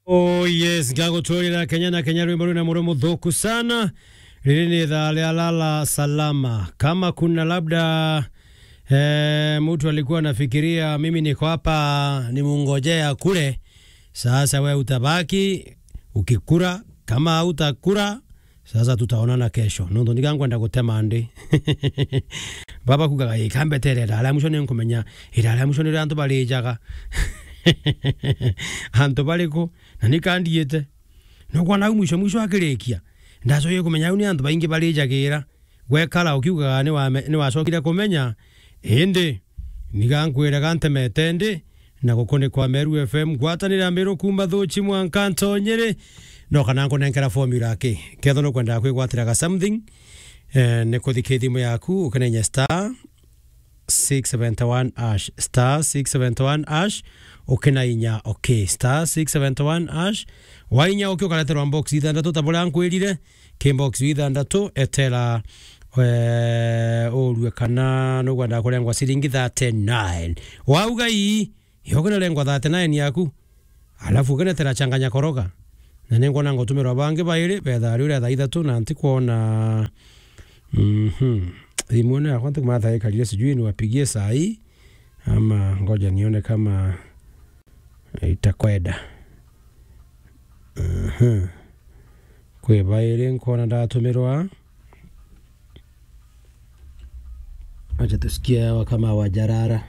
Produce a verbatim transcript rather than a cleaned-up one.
Oh yes, ngagutwirira Kenya na Kenya, rwimbo rwina muro muthuku sana. Riri ni ithaa ria lala salama. Kama kuna labda, eh, mtu alikuwa anafikiria mimi niko hapa nimungojea kule, sasa we utabaki ukikura, kama hautakura, sasa tutaonana kesho. Nontu ndiga nkwenda gutema ndi. Baba kugaga, "Ii, kambetere iraria mwisho ni nkumenya, iraria mwisho ni ria antu barijaga." Antu bariku? Na ni kandiite. Nukwona au mwisho mwisho akirikia, ndacokie kumenya au ni antu baingi barijagira. Gwekara ukiugaga ni wame-, ni wacokire kumenya, indi niga nkwire ga ntemete ndi, na gukunikwa Meru F M, ngwatanire Mbiru kuuma Thuchi mwanka Ntonyiri, no kana nkunenkera formula ki? Kethwa nukwenda kwigwatira ga something, eh, ni kuthika thimu yaku, ukinenya star six seventy one hash, star six seventy one hash, ukinainya okay, star six seventy one hash, wainya okay, ukareterwa box ithandatu ta buria nkwirire, ki box ithandatu, etera, eh, urue kana nugwenda kurengwa ciringi thirty nine. Wauga ii, yo ukinarengwa thirty nine yaku, alafu ukinetera changanya koroga. Na ni nkwona ngutumirwa bangi bairi, betha riu ria thaa ithatu na ntikwona. Mhm. Thimu ino yakwa ntikumanya thaa ikarire, sijui niwapigie saa hii, ama ngoja nione kama itakwenda. Mhm. Kwi bairi nkwona ndatumirwa. Acha tusikie hawa kama wajarara.